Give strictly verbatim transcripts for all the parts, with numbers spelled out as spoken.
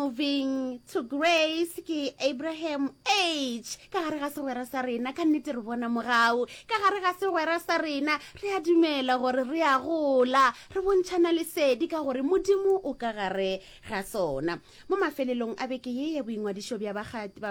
Moving to Grace ke Abraham H. Ka gare ga segwera sa rena, ka nnete re bona mogau. Ka gare ga segwera sa rena, re a dumela gore re a gola, re bontšhana lesedi ka gore Modimo o ka gare ga sona. Mo mafelelong a beke ye ya boingwadišo bja ba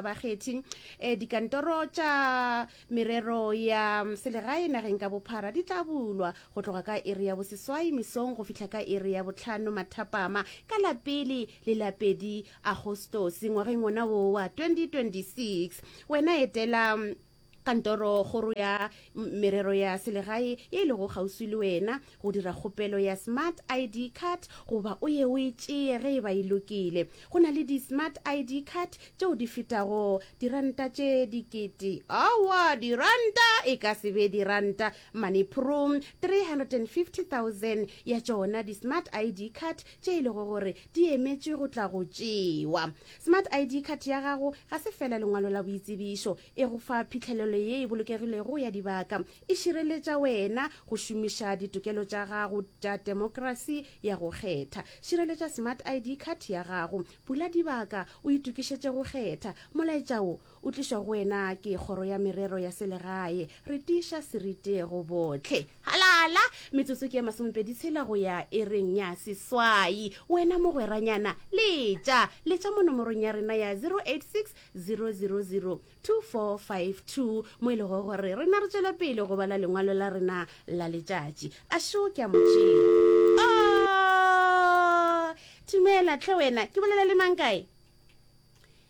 bakgethi, eh, dikantoro tša merero ya selegae nageng ka bophara di tla bulwa go tloga ka iri ya boseswai mesong go fihla ka iri ya bohlano mathapama ka la pele le la pedi Agostose ngwageng wona wo wa twenty twenty-six. Wena etela kantoro kgoro ya merero ya selegae ye e lego kgauswi le wena go dira kgopelo ya smart I D card goba o ye o e tšee ge e ba e lokile. Go na le di-smart I D card tšeo di fetago diranta tše dikete, aowa, diranta e ka se be diranta, manipro three hundred and fifty thousand ya tšona di-smart I D card tše e lego gore di emetšwe go tla go tšewa. Smart I D card ya gago ga se fela lengwalo la boitsebišo, e go fa phihlelelo ye e bolokegilego ya dibaka, e šireletša wena go šomiša ditokelo tša gago tša temokrasi ya go kgetha. Šireletša Smart I D card ya gago, bula dibaka o itokišetše go kgetha. Molaetša wo o tlišwa go wena ke Kgoro ya Merero ya Selegae. Re tiiša seriti go bohle. Halala! Metsotso ke ya masomepedi tshela go ya ereng ya seswai. Wena mogweranyana, letša! Letša mo nomorong ya rena ya zero eight six zero zero zero two four five two mo e lego gore rena re tšwela pele go bala lengwalo la rena la letšatši. A šo ke a mo tšea. Oh! Thumela tlhe wena, ke bolela le mang kae?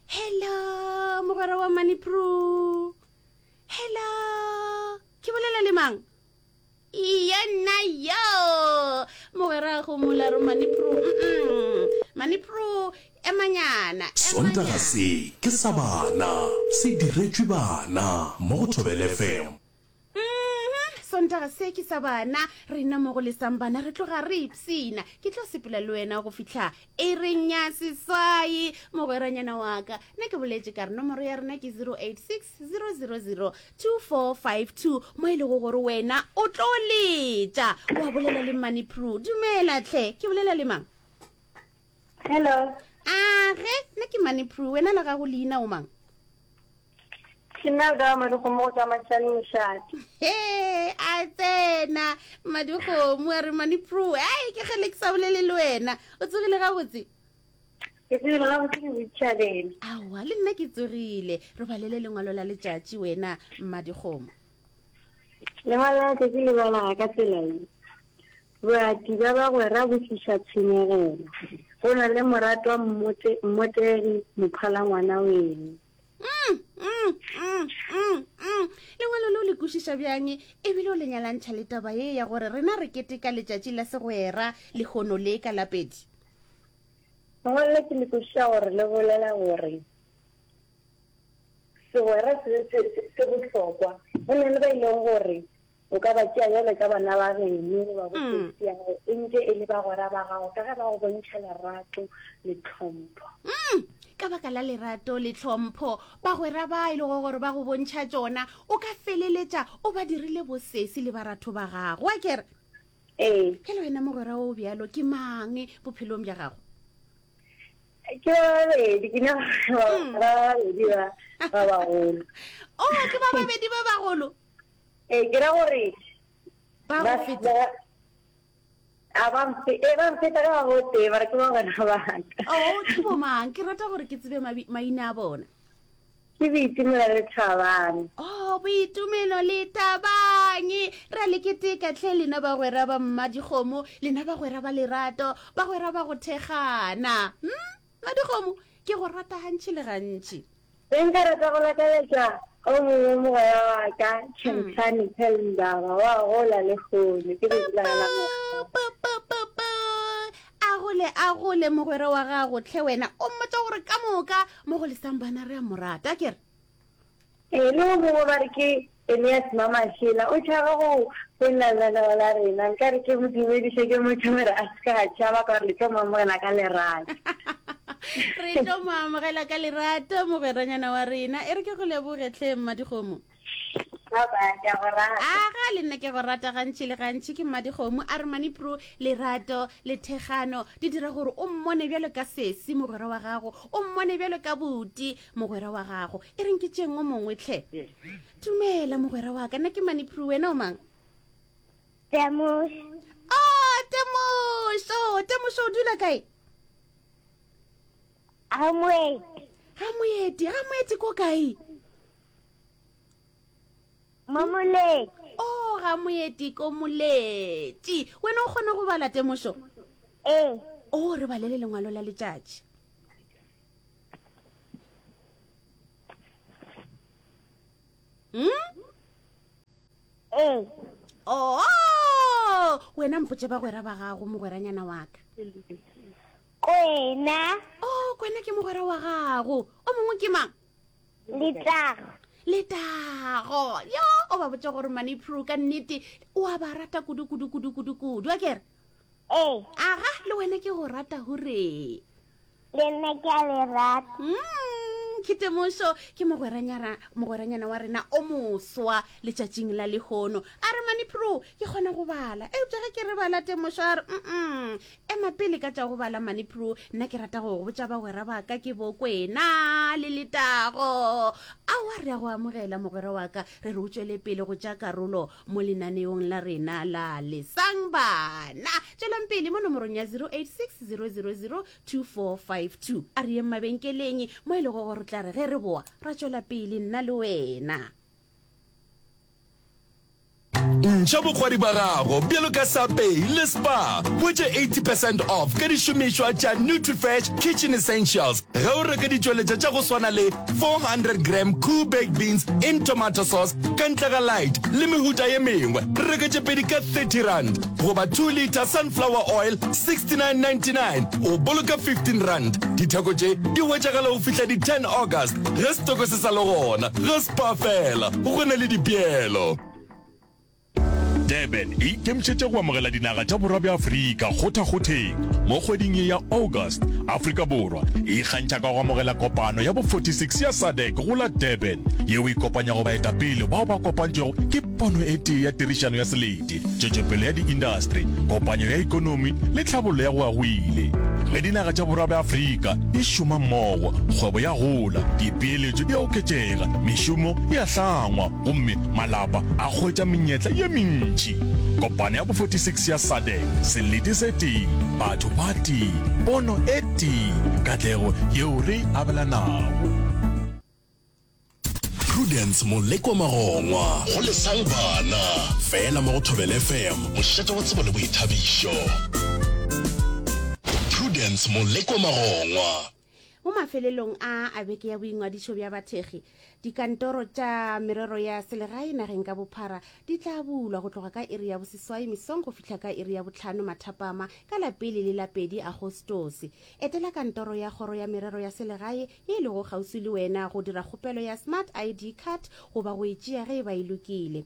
Hello, mogwera wa Manipro. Hello, ke bolela le mang? Iya nna yo. Mogwera go mola re Manipro. Mm-mm. Manipro emanyana, Sontaga se ke sa bana, se diretšwe bana mo go Thobela F M. Mhm, Sontaga se ke sa bana, rena mo go lesang bana re tloga re ipsina. Ke tlo sepela le wena go fihla ering ya seswai, mogweranyana wa ka. Nna ke boletše ka re nomoro ya rena ke zero eight six zero zero zero two four five two, mo e lego gore wena o tlo letša wa bolela le Manipro. Dumela tlhe, ke bolela le mang? Hello. Age, nna ke Manipro, wena la gago leina o mang? Ke nna ka Madikgomo go tswa Mashane Mošate. He, a tsena Madikgomo a re Manipro, ai ke kgele ke sa bolele le wena. O tsogile gabotse? Ke tsogile gabotse ke botšhabela. Aowa, le nna ke tsogile. Re balele lengwalo la letšatši wena Madikgomo. Lengwalo la letšatši le bala ka tsela ye. Boati bja bagwera bo tliša tshenyegelo. Go na le moratwa mmote, mmotegi mophala ngwana weno. Mm, mm, mm, mm, mm. Lengwalo leo le kwešiša bjang ebile o le nyalantšha le taba ye ya gore rena re keteka letšatši la segwera lehono le ka lapedi? Lengwalo le ke le kwešiša gore le bolela gore segwera se, se, se, se bohlokwa. Go na le ba e leng gore o ka ba tšea bjale ka bana ba geno goba bo Mm. sesi ya gago, e ntše e le bagwera ba gago ka ge ba go bontšha lerato le tlhompho. Mm. Ka baka la lerato le tlhompho bagwera ba e lego gore ba go bontšha tšona, o ka feleletša o ba dirile bosesi le baratho ba gago. Wa kere? Ee. Ke le wena mogwera o bjalo ke mang bophelong bja gago? Ke ba babedi, ke nyaka Mm. ba babedi ba, ba bagolo. Oh, ke ba babedi ba bagolo? Ee, ke ra gore Ba ba go feta. ba a ba mfe, ee, ba mfeta ka ba botee, ba re ke bagwera ba ka. Oh, ke bo mang? Ke rata gore ke tsebe mabi-, maina a bona. Ke Boitumelo le Thabang. Oh, Boitumelo le Thabang. Re a le keteka tlhe lena bagwera ba Mmadikgomo, lena bagwera ba lerato, bagwera ba go thekgana. Hmm? Mmadikgomo, ke go rata gantši le gantši. Be nka rata go lakaletša o mongwe mogwera wa ka, Chemtlane Pelndaba, wa gola le kgone. Ke letšatši la ka la Pa, pa, pa, pa, pa. A gole, a gole mogwera wa gago tlhe wena. O mmotša gore ka moka mo go lesang bana re a mo rata, ke re? Ee, le o mongwe ba re ke Elias Mamashela, o tšhaba go founela lenaneo la rena. Nka re ke mo dumediše, ke mmotše gore a se ka tšhaba ka gore le tlo mo amogela ka lerato. Re tlo mo amogela ka lerato mogweranyana wa rena. E re ke go leboge tlhe Mmadikgomo. Bye bye, ke a go rata. Aga le nna ke go rata gantši le gantši ke mmadikgomo a re manipro lerato le thekgano di dira gore o mmone bjalo ka sesi mogwera wa gago o mmone bjalo ka buti mogwera wa gago e reng ke tšeng o mongwe tlhe dumela mogwera wa ka nna ke manipro wena o mang Temošo. Oh, Temošo Temošo o dula kae Ga moeti. Ga moeti ga moeti ko kae Mo moleti. Oh, ga moeti ko moleti. Wena o kgona go bala temošo? Ee. Oh, re balele lengwalo la letšatši. Hmm? Ee. Oh, wena mpotše bagwera ba gago mogweranyana wa ka. Kwena. Oh, kwena ke mogwera wa gago. O mongwe ke mang? Letago. Letago. Yo, o ba botša gore Manipro ka nnete o a ba rata kudu kudu kudu kudu kudu. A kere? Ee. Aga, le wena ke go rata hure. Le nna ke a le rata. Mm, ke temošo ke mogweranyana mogweranyana wa rena o moswa letšatšing la lehono. A re Manipro ke kgona go bala. Eupša ge ke re bala temošo a re mm ema pele ka tša go bala Manipro nna ke rata go go botša bagwera ba ka ke bo Kwena le Letago. Aowa re a go amogela mogwera wa ka re re o tšwele pele go tša karolo mo lenaneong la rena la Lesang Bana. Tšwelang pele mo nomorong ya zero eight six zero zero zero two four five two. A re yeng mabenkeleng mo e lego gore tla re ge re boa ra tšwela pele nna le wena. Ntšha bokgwari ba gago bjalo ka Sapei le Spar. Hwetša eighty percent off ka dišomišwa tša Nutrifresh Kitchen Essentials ge o reka ditšweletša tša go swana le four hundred gram Koo Baked Beans in Tomato Sauce ka ntle ga light le mehuta ye mengwe. Reka tše pedi ka thirty rand goba two litre sunflower oil sixty nine ninety nine o boloka fifteen rand. Ditheko tše di hwetšagala go fihla di ten August ge setoko se sa le gona. Ga Spar fela go na le dipeelo. Durban e ikemišetše go amogela dinaga tša Borwa bja Afrika kgothakgotheng mo kgweding ye ya August. Afrika Borwa e ikgantšha ka go amogela kopano ya bo forty six ya SADC go la Durban, yeo e kopanyago baetapele bao ba kopantšwego ke pono e tee ya tirišano ya selete, tšwetšopele ya diindastri, kopanyo ya ekonomi le tlhabollo ya go ya go ile. Ge dinaga tša Borwa bja Afrika di šoma mmogo, kgwebo ya gola, dipeeletšo di a oketšega, mešomo e a hlangwa gomme malapa a hwetša menyetla ye mentši. Kopano ya bo forty six ya SADC, selete se tee, batho ba tee, pono e tee, katlego yeo re e abelanago. Prudence Molekwa Magongwa go Lesang Bana fela mo go Thobela F M, mošate wa tsebo le boithabišo. Prudence Molekwa Magongwa. Mo mafelelong a a beke ya boingwadišo bja bathekgi, dikantoro tša merero ya selegae nageng ka bophara di tla bulwa go tloga ka iri ya boseswai mesong go fihla ka iri ya bohlano mathapama ka la pele le la pedi Agostose. Etela kantoro ya kgoro ya merero ya selegae ye e lego kgauswi le wena go dira kgopelo ya Smart I D card goba go e tšea ge e ba e lokile.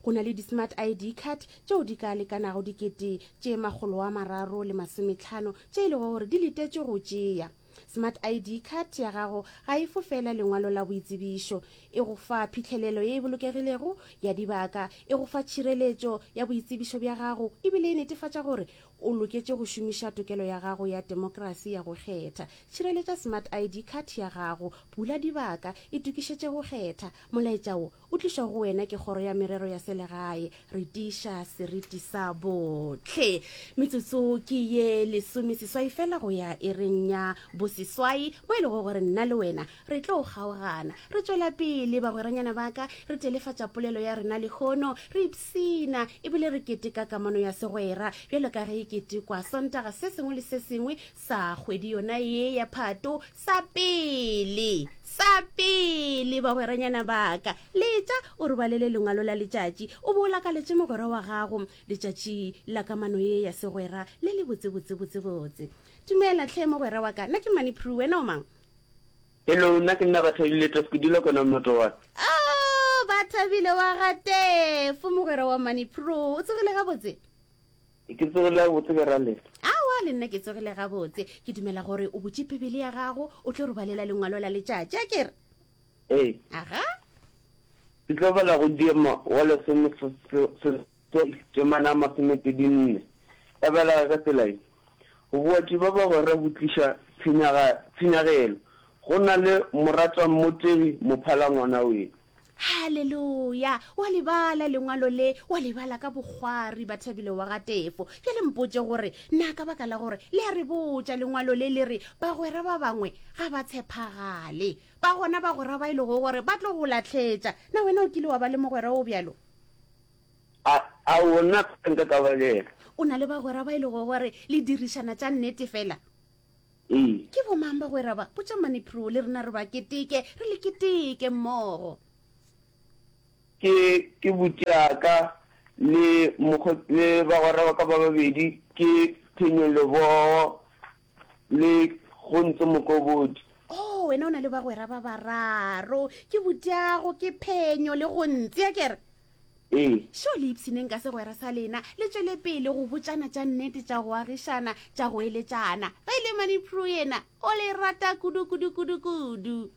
Go na le di-Smart I D card tšeo di ka lekanago dikete tše makgolo a mararo le masometlhano tše e lego gore di letetšwe go tšea. Smart I D card ya gago ga e fo fela lengwalo la boitsebišo, e go fa phihlelelo ye e bolokegilego ya dibaka, e go fa tšhireletšo ya boitsebišo bja gago ebile e netefatša gore o loketše go šomiša tokelo ya gago ya demokrasi ya go kgetha. Tšhireletša Smart I D card ya gago, bula dibaka, itokišetše go kgetha. Molaetša wo o tlišwa go wena ke Kgoro ya Merero ya Selegae. Re tiiša seriti sa bohle. Metsotso ke ye lesomeseswai fela go ya iring ya boseswai, mo e lego gore nna le wena re tlo kgaogana. Re tšwela pele bagweranyana ba ka, re telefatša polelo ya rena lehono, re ipshina ebile re keteka kamano ya segwera bjalo ka ge e ketekwa Sontaga se sengwe le se sengwe sa kgwedi yona ye ya Phato sa pele. Sa pele bagweranyana ba ka, letša o re balele lengwalo la letšatši, o bo o lakaletše mogwera wa gago letšatši la kamano ye ya segwera le le botse botse botse botse. Dumela hle mogwera wa ka, nna ke Mani Prue, wena o mang? Hello, nna ke nna Bathabile Tefo, ke dula kona Motowat. Oh, Bathabile wa ga Tefo, mogwera wa Mani Prue, o tsogile gabotse? Ke tsogile gabotse ke ra lena. Aowa, le nna ke tsogile gabotse. Ke dumela gore o butše Bibele ya gago, o tlo re balela lengwalo la letšatši, a ke re? Ee. Aga. Ke tlo bala go Diema wa lesome seswai temana ya masomepedi nne. E balega ka tsela ye, Boati bja bagwera bo tliša tshenyagelo, go na le moratwammotegi mophala ngwana weno. Haleluya! Wa le bala Lengwalo le, wa le bala ka bokgwari, Bathabile wa ga Tefo. Bjale mpotše gore, na ka baka la gore le a re botša Lengwalo le le re bagwera ba bangwe ga ba tshephagale? Ba gona bagwera ba e lego gore ba tlo go lahletša. Na wena o kile wa ba le mogwera o bjalo? A, aowa, nna ga nka ka ba le yena. O na le bagwera ba e lego gore le dirišana tša nnete fela? Ee. Ke bomang bagwera ba? Botša Manipro le rena re ba keteke, re le keteke mmogo. Ke, ke butiaka le mokgo, le bagwera ba ka ba babedi, ke Phenyo Lebogo le Gontse Mokobodi. Oh, wena o na le bagwera ba bararo, ke butiago, ke Phenyo le Gontse, a ke re? Ee. Šo le ipshineng ka segwera sa lena, le tšwele pele go botšana tša nnete, tša go agišana, tša go eletšana. Ge e le Manipro yena, o le rata kudu, kudu, kudu, kudu.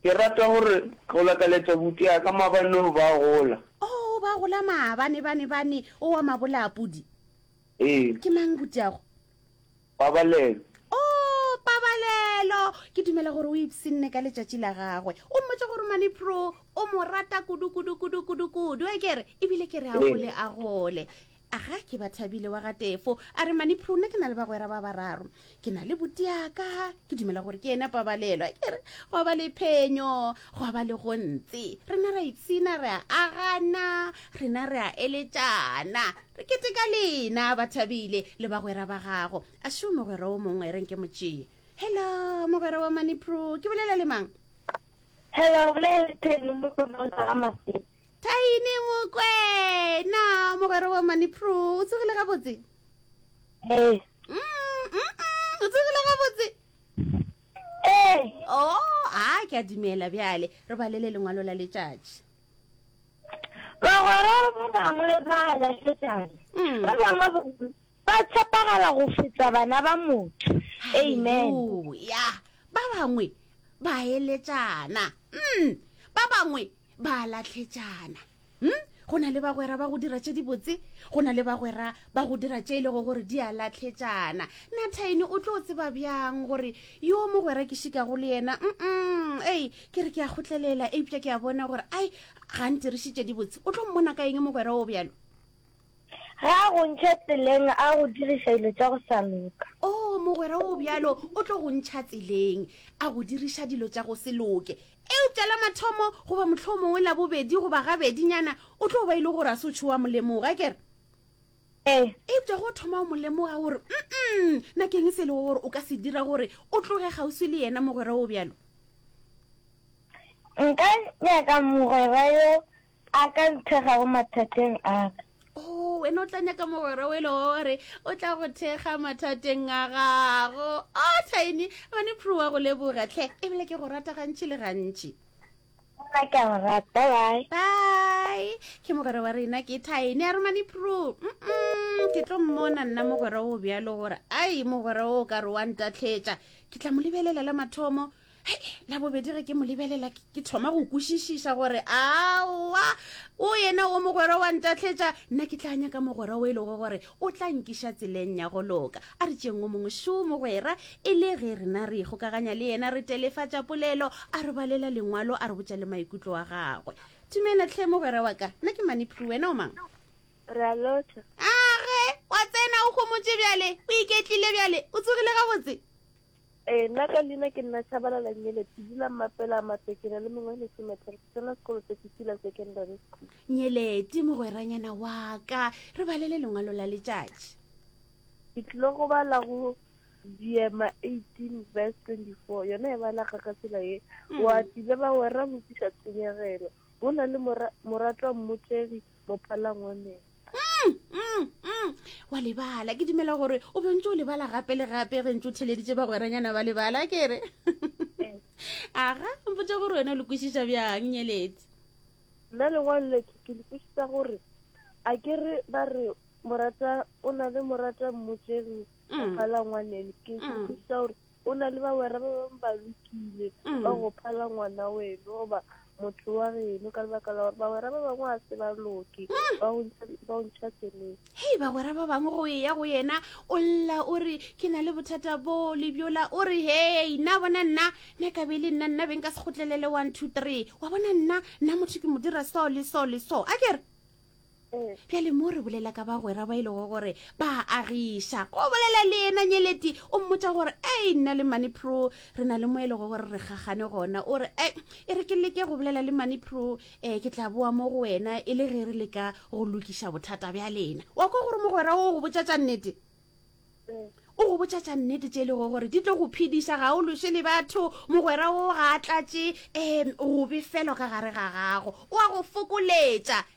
Ke rata gore go lakaletša buti ya ka maabane o ba gola. Oh, ba gola maabane, bane, bane, o wa mabola a pudi. Ee. Ke mang butiago? Pabalelo. Oh, Pabalelo! Ke dumela gore o ipshinne ka letšatši la gagwe. O mmotše gore Manipro o mo rata kudu, kudu, kudu, kudu, kudu. A ke re, ebile ke re a gole, a gole. Aga, ke Bathabile wa ga Tefo. A re, Manipro, nna ke na le bagwera ba bararo. Ke na le butiaka, ke dumela gore ke yena Pabalelo. A ke re, gwa ba le Phenyo, gwa ba le Gontse. Rena ra ipshina, re a agana, rena re a eletšana. Re keteka lena, Bathabile, le bagwera ba gago. A šo mogwera o mongwe, re nke mo tšee. Hello, mogwera wa Manipro, ke bolela le mang? Hello, bolela le Thaini Mokwena o tšwa ga Masedi. Thaini Mokwena, mogwera wa Manipro, o tsogile gabotse? Ee. Mm, mm, mm, o tsogile gabotse? Ee. Oh, a ke a dumela bjale, re balele lengwalo la letšatši. Bagwera ba bangwe ba a lahletšana, Mm. ba bangwe ba, ba tshepagala go feta bana ba motho. Amen. Haleluya. Ba bangwe ba eletšana. Mm. Ba bangwe ba lahletšana. Mm? Go na le bagwera ba go dira tše dibotse, go na le bagwera ba go dira tše e lego gore di a lahletšana. Na Thaini o tlo tseba bjang gore yo mogwera ke šikago le yena? Mm-mm. Ei, ke re ke a kgotlelela, eupša ke a bona gore ai ga ntiriše tše dibotse. O tlo mmona ka eng mogwera o bjalo? Ga a go ntšha tseleng a go diriša dilo tša go sa loka. Oh, mogwera o bjalo o tlo go ntšha tseleng a go diriša dilo tša go se loke. Eupša la mathomo goba mohlomongwe la bobedi goba gabedinyana o tlo ba e le gore a se o tšhoa mo lemoga, ke re? Ee. Eupša go thoma o mo lemoga gore mm-mm, na ke eng se e lego gore o ka se dira gore o tloge kgauswi le yena mogwera o bjalo? Nka nyaka mogwera yo a ka nthekgago mathateng a ka. Oh, wena o tla nyaka mogwera o e lego gore o tla go thekga mathateng a gago. Oh, Thaini, Manipro wa go leboga tlhe, ebile ke go rata gantši le gantši. Nna ke a go rata, bye. Bye. Ke mogwera wa rena ke Thaini, a re Manipro. Mm-mm, ke tlo mmona nna mogwera o bjalo gore ai mogwera o ka re wa ntatlhetša. Ke tla mo lebelela la mathomo. Hei, la bobedi ge ke mo lebelela ke thoma go kwešišiša gore aowa o yena o mogwera wa ntatlhetša, nna ke tla nyaka mogwera o e lego gore o tla nkiša tseleng ya go loka. A re tšeng o mongwe šo mogwera, e le ge rena re ikgokaganya le yena, re telefatša polelo, a re balela lengwalo, a re botša le maikutlo a gagwe. Dumela tlhe mogwera wa ka, nna ke Manipro, wena o mang? Re a lotšha. Age, wa tsena o homotše bjale, o iketlile bjale, o tsogile gabotse? Ee, nna ka leina ke nna Tshabalala Nyeleti, ke dula Mmapela Matekena le mengwe e lesometlhano, ke tsena sekolo se Sesila Secondary School. Nyeleti mogweranyana wa ka, re balele lengwalo la letšatši. Ke tlile go bala go Diema eighteen verse twenty-four, yona e balega ka tsela ye, Mm. Wa tile ba wera botšiša tshenyegelo, go na le mora-, moratwa mmotegi mophalangwaneng. Mm, mm, mm. Wa lebala, ke dumela gore o be ntse o lebala gape le gape ge ntse o theleditše bagweranyana ba lebala, ke re. Aga, mpotše gore wena o le kwešiša bjang, Nyeleti? Nna lengwalo le ke le kwešiša gore a ke re ba re morata o na le morata mmotegi Mm. mophalangwaneng, ke Mm. kwešiša gore o na le bagwera ba bangwe ba lokile Mm. ba go phala ngwana weno goba motho wa geno ka lebaka la gore bagwera ba bangwe ga se ba loke, ba go ntšha, ba go ntšha tseleng. Hei, bagwera ba bangwe go eya go yena o lla o re ke na le bothata bo le bjola, o re hei nna bona nna nna ka be le nna nna be nka se kgotlelele one two three, wa bona nna nna motho ke mo dira so le so le so, a ke re Bjale mo re bolela ka bagwera ba e lego gore ba agiša, go bolela le yena Nyeleti o mmotša gore ei nna le Money Pro re na le mo e lego gore re gagane gona, o re ei e re ke leke go bolela le Money Pro um ke tla boa mo go wena e le ge re leka go lokiša bothata bja lena. Wa kwa gore mogwera o go botša tša nnete? O go botša tša nnete tše e lego gore di tlo go phediša, ga o lweše le batho, mogwera wo ga a tlatše um go befelwa ka gare ga gago, o a go fokoletša.